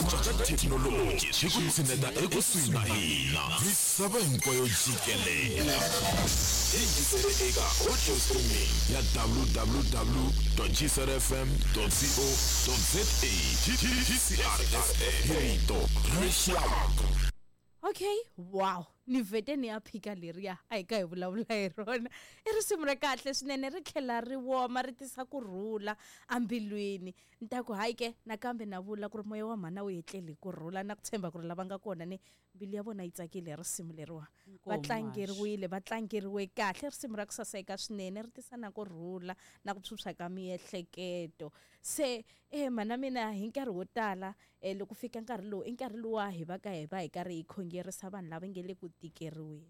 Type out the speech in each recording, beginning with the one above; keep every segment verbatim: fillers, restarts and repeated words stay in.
Antswa ka thekinoloji swi ku tshineta ekusuhi na hina misava hinkwayo jikelele. Yingisele eka audio streaming ya w w w dot g c r f m dot co dot z a. G C R F M, rito rixaka. Okay, wow. Ni vhete ni ya phika leriya a hi ka hi vulavula hi rona. I risimu ra kahle swinene, ri tlhela ri woma, ri tisa kurhula ambilwini. Ni ta ku hayi ke nakambe na vula ku ri moya wa mhana wu etleli hi kurhula, na ku tshemba ku ri lava nga kona ni mbilu ya vona yi tsakile hi risimu leriwa. Va tlangeriwile, va tlangeriwe kahle. Risimu ra ku saseka swinene, ri tisa na kurhula na ku phyuphya ka miehleketo. Se eh mhana mina hi nkarhi wo tala eh loko fika nkarhi lowu i nkarhi luwa hi va ka hi va hi karhi hi khongerisa vanhu lava nge le ku tikeriweni.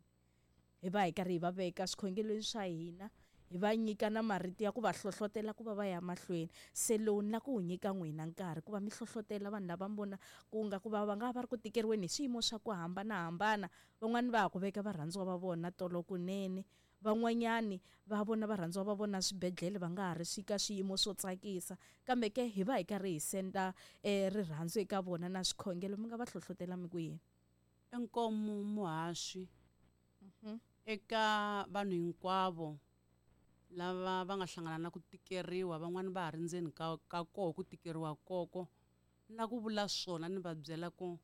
Hi va hi karhi hi va veka swikhongelweni swa hina, hi va nyika na marito ya ku va hlohlotela ku va va ya mahlweni. Se lowu ni la ku wu nyika n'wina nkarhi ku va mi hlohlotela vanhu lava mi vona ku nga ku va va nga va ri ku tikeriweni hi swiyimo swa ku hambanahambana. Van'wani va ha ku veka varhandziwa va vona tolo kunene, van'wanyani va vona varhandziwa va vona swibedhlele va nga ha ri swika swiyimo swo tsakisa, kambe ke hi va hi karhi hi senda eh rirhandzu eka vona na swikhongelo. Mi nga va hlohlotela mi ku yini? Inkomu muhaxi eka vanhu hinkwavo lava va nga hlangana na ku tikeriwa, van'wani va ha ri ndzeni ka, ka koho ku tikeriwa koko. Na ku vula swona ni va byela ku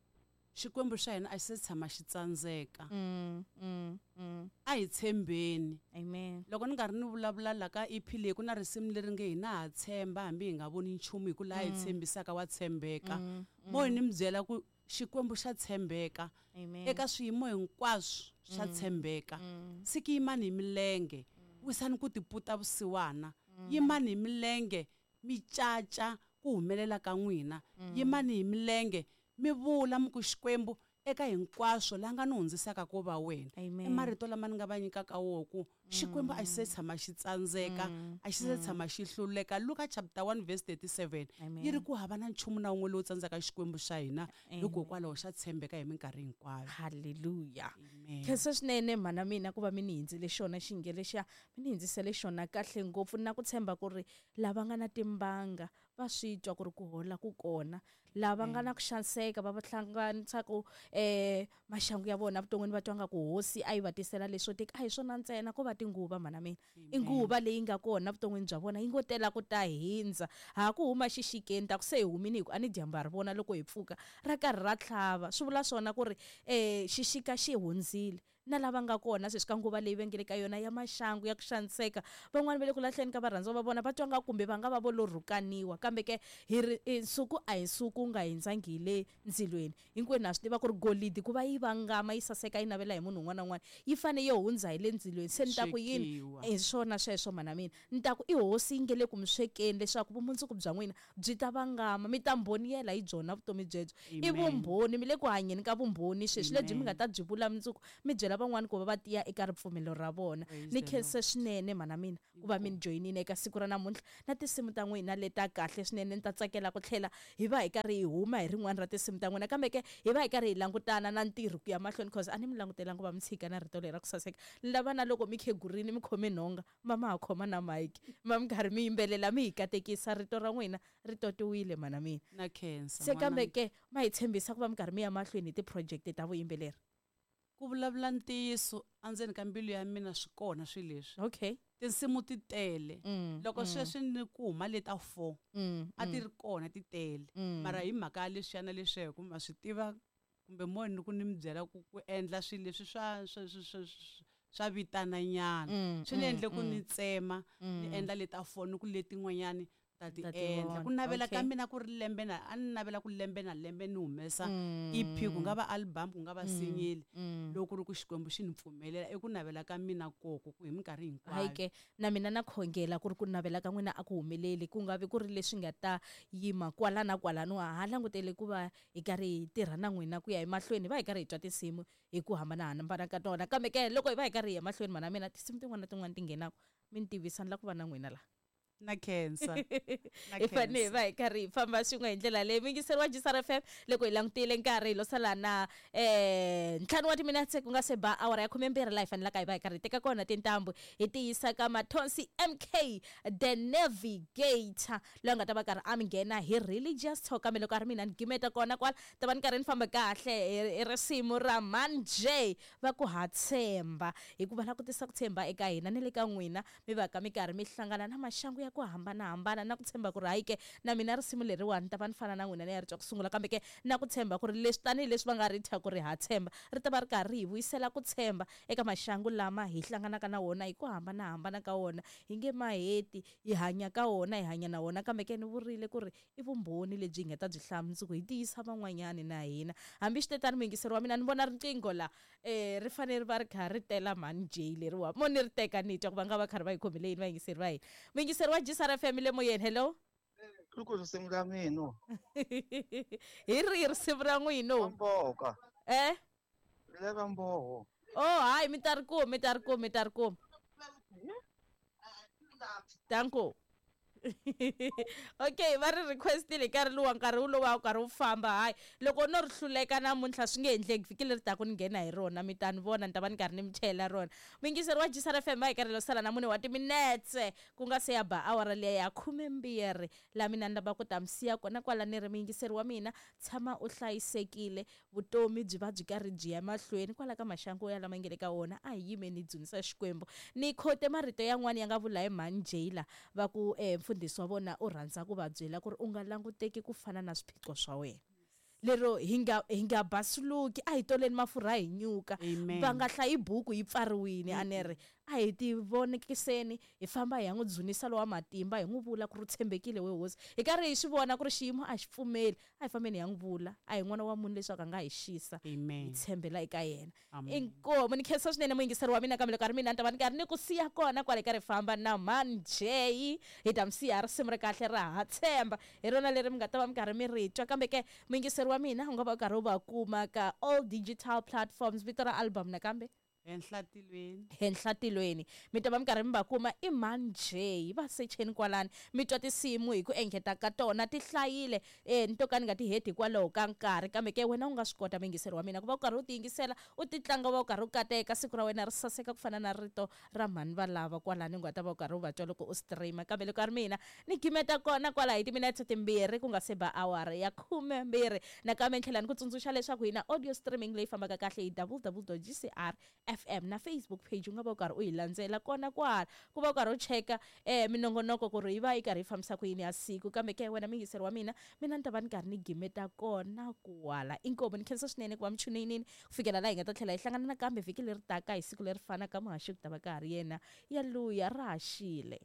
Xikwembu xa hina a xi se tshama xi tsandzeka. Mm, mm, mm. A hi tshembeni. Amen. Loko ni karhi ni vulavula la ka E P leyi ku na risimu leri nge hina ha tshemba hambi hi nga voni nchumu hi ku laha hi Mm. tshembisaka wa tshembeka. Mm, Mo mm. ni mi byela ku Xikwembu xa tshembeka. Amen. Eka swiyimo hinkwaswo xa Mm. tshembeka. Mm. Siki yimani hi milenge, Mm. wisani ku tiputa vusiwana. Mm. Yimani hi milenge, mi caca ku humelela ka n'wina. Mm. Yimani hi milenge, mi vula mi ku Xikwembu eka hinkwaswo la nga ni hundzisaka ko va wena. Amen. I marito lama ni nga va nyikaka woho ku Xikwembu a xi se Mm. tshama xi tsandzeka, Mm. a xi se Mm. tshama xi hluleka. Luka chapter one verse thirty-seven Amen. yi ri ku hava na nchumu na wun'we lowu tsandzaka Xikwembu xa hina, Amen. hikokwalaho xa tshembeka hi minkarhi hinkwayo. Hallelujah. Amen. Khensa swinene mhana mina ku va mi ni hindzile xona xinge lexiya, mi ni hindzisele xona kahle ngopfu, na ku tshemba ku ri lava nga na timbanga va swi twa ku ri ku hola ku kona, lava nga na ku xaniseka va va hlanganisa ku eh maxangu ya vona vuton'wini va twa nga ku hosi a yi va tisela leswo tika. A hi swona ntsena, ko va tinguva mhana mina. I nguva leyi nga kona vuton'wini bya vona yi ngo tela ku ta hindza. Ha ku huma xixikeni ta ku se hi humini hi ku a ni dyambu ha ri vona loko hi pfuka ra karhi ra tlhava. Swi vula swona ku ri eh xixika xi hundzile. Na lava nga kona sweswi ka nguva leyi va nge le ka yona ya maxangu ya ku xaniseka, van'wani va le ku lahleni ka varhandziwa va vona, va twa nga kumbe va nga va vo lo rhukaniwa, kambe ke hi ri nsuku a hi nsuku wu nga hindzangi hi le ndzilweni. Hinkwenu ha swi tiva ku ri golidi ku va yi vangama yi saseka yi navela hi munhu un'wana na un'wana yi fane yo hundza hi le ndzilweni. Se ni ta ku yini? Swekiwa. Hi swona sweswo mhana mina. Ni ta ku i hosi yi nge le ku mi swekeni leswaku vumundzuku bya n'wina byi ta vangama, mi ta mbhoniyela hi byona vutomi byebyo. I Amen. vumbhoni, mi le ku hanyeni ka vumbhoni sweswi lebyi mi Amen. nga ta byi vula mundzuku, mi byela van'wani ku va va tiya eka ripfumelo ra vona. Praise Ni the khense Lord. swinene mhana mina ku va mi ni Inkomu. joyinile eka siku ra namuntlha na tinsimu ta n'wina leta kahle swinene. Ni ta tsakela ku tlhela hi va hi karhi hi huma hi rin'wana ra tinsimu ta n'wina, kambe ke hi va hi karhi hi langutana na ntirho ku ya mahlweni, cause a ni mi langutelanga ku va mi tshika na rito leri ra ku saseka. Ni lava na loko mi khegurini mi khome nhonga, ma ma ha khoma na mic, ma mi karhi mi yimbelela mi hi katekisa, rito ra n'wina ri totiwile mhana mina. Na khensa, Se kambe n'wananga. ke ma hi tshembisa ku va mi karhi mi ya mahlweni hi ti-project ta vuyimbeleri? Ku vulavula ntiyiso endzeni ka mbilu ya mina swi kona swilo leswi. Okay. Tinsimu ti tele. Mm, Loko mm. sweswi ni ku huma leta four, Mm, a ti mm. ri kona ti tele. Mm. Mara hi mhaka ya leswiya na leswiya, hi ku ma swi tiva kumbe mo ni ku ni mi byela ku ku endla swilo leswi swa, swa, swa, swa, swa vitana nyana. Mm, Swi ni mm, endle ku mm. ni tsema, ni Mm. endla leta four, ni ku letin'wanyani ta ti Ta ti endla. vona. Ku navela ka Okay. mina ku ri lembe na, a ni navela ku lembe na lembe ni humesa Mm. E P, ku nga va album, ku nga va Mm. single. Mm. Loko ku ri ku Xikwembu xi ni pfumelela, i ku navela ka mina koko ku hi minkarhi hinkwayo. Hayi ke, na mina na khongela ku ri ku navela ka n'wina a ku humeleli, ku nga vi ku ri leswi nga ta yima kwala na kwalano. Ha langutele ku va hi karhi hi tirha na n'wina ku ya emahlweni, hi va hi karhi hi twa tinsimu hi ku hambanahambana ka tona. Kambe ke loko hi va hi karhi hi ya emahlweni, mhana mina, tinsimu tin'wana na tin'wana ti nghenaka, mi ni tivisa, ni lava ku va na n'wina laha. Na khensa. Na Hi fanele hi khensa. va hi karhi hi famba swin'we hi ndlela leyi. Muyingiseri wa G S R F M, loko hi langutile nkarhi hi lo sala na eh ntlhanu wa timinetse ku nga se ba awara ya khumembirhi laha hi fanelaka hi va hi karhi hi teka kona tintambu hi tiyisa ka Mathonsi M K the Navigator loyi a nga ta va karhi a mi nghena hi religious talk. Kambe loko a ri mina ni gimeta kona kwala, ta va ni karhi ni famba kahle hi risimu ra Man J va ku ha tshemba, hikuva la ku tisa ku tshemba eka hina ni le ka n'wina, mi va ka mi karhi mi hlangana na maxangu ya ku hambanahambana na ku tshemba ku ri hayi ke na mina risimu leriwani ta va ni fana na n'wina ni ya ri twa ku sungula, kambe ke na ku tshemba ku ri leswi tanihileswi va nga ri thya ku ri ha tshemba ri ta va ri karhi hi vuyisela ku tshemba eka maxangu lama hi hlanganaka na wona hi ku hambanahambana ka wona. Hi nge maheti hi hanya ka wona, hi hanya na wona, kambe ke ni vurile ku ri i vumbhoni lebyi hi nga ta byi hlaya mundzuku hi tiyisa van'wanyani na hina. Hambi switetano muyingiseri wa mina, ni vona riqingho la eh ri fanele ri va ri kha ri tela Man J leriwa mo ni ri teka ni twa ku va nga va karhi va yi khomile yini vayingiseri va hina. Muyingiseri wa G S R F M le moyeni, hello. Loko risimu ra mina. Hi rihi risimu ra n'wina? Mboka. Eh? Le ka mboho. Oh, hayi mi ta ri kuma, mi ta ri kuma, mi ta ri kuma. Danko. Okay, va ri requestile nkarhi luwa, nkarhi wolowo wu karhi wu famba. Hayi loko no ri hluleka namuntlha swi nge endleki, vhiki leri taka ni nghena hi rona, mi ta ni vona, ni ta va ni karhi ni mi chela rona. Muyingiseri wa G S R F M va hi karhi lo sala na mune wa timinetse ku nga se ya ba awara liya ya khumembirhi, laha mina ni lava ku ta mi siya kona kwala. Ni ri muyingiseri wa mina, tshama u hlayisekile, vutomi byi va byi karhi byi ya mahlweni kwala ka maxangu ya lama nge le ka wona. A hi yimeni hi dzunisa Xikwembu. Ni khote marito yan'wana ya nga vula hi Man J la va ku eh, mfundhisi wa vona u rhandza ku va byela ku ri u nga languteki ku fana na swiphiqo swa wena, lero hi nga hi nga basuluki, a hi toleni mafurha hi nyuka, va nga hlayi buku yi pfariwile. A ni ri a hi ti vonekiseni, hi famba hi ya n'wi dzunisa lowa matimba, hi n'wi vula ku ri u tshembekile we hosi, hi karhi hi swi vona ku ri xiyimo a xi pfumeli, a hi fambeni hi ya n'wi vula, a hi n'wana wa munhu leswaku a nga hi xisa, hi tshembela eka yena. Inkomu ni khensa swinene muyingiseri wa mina, kambe loko a ri mina ni ta va ni karhi ni ku siya kona kwale karhi famba na Man J, hi ta mi siya risimu ri kahle ra ha tshemba, hi rona leri mi nga ta va mi karhi mi ri twa. Kambe ke muyingiseri wa mina u nga va u karhi u va kuma ka all digital platforms, vito ra album nakambe Henhla tilweni, Henhla tilweni, mi ta va mi karhi mi va kuma i Man J, va secheni kwalani, mi twa tinsimu hi ku engeta ka tona ti hlayile, eh ni to ka ni nga ti heti hikwalaho ka nkarhi, kambe ke wena u nga swi kota muyingiseri wa mina ku va u karhi u ti yingisela, u ti tlanga, u va u karhi u kateka, siku ra wena ri saseka ku fana na rito ra mhani va lava kwalani u nga ta va u karhi u va twa loko u streama. Kambe loko a ri mina ni gimeta kona kwala hi timinetse timbirhi ku nga se ba awara ya khumembirhi. Nakambe ni tlhela ni ku tsundzuxa leswaku hi na audio streaming leyi fambaka kahle hi w w w dot g c r F M na Facebook page, u nga va u karhi u yi landzela kona kwala ku va u karhi u cheka eh minongonoko ku ri yi va yi karhi yi fambisa ku yini ya siku. Kambe ke wena muyingiseri wa mina, mina ni ta va ni karhi ni gimeta kona kwala. Inkomu ni khensa swinene ku va mi chuneyinini ku fikela laha hi nga ta tlhela hi hlangana nakambe vhiki leri taka hi siku leri fanaka, muhaxi ku ta va ka ha ri yena yaluya ra ha xile.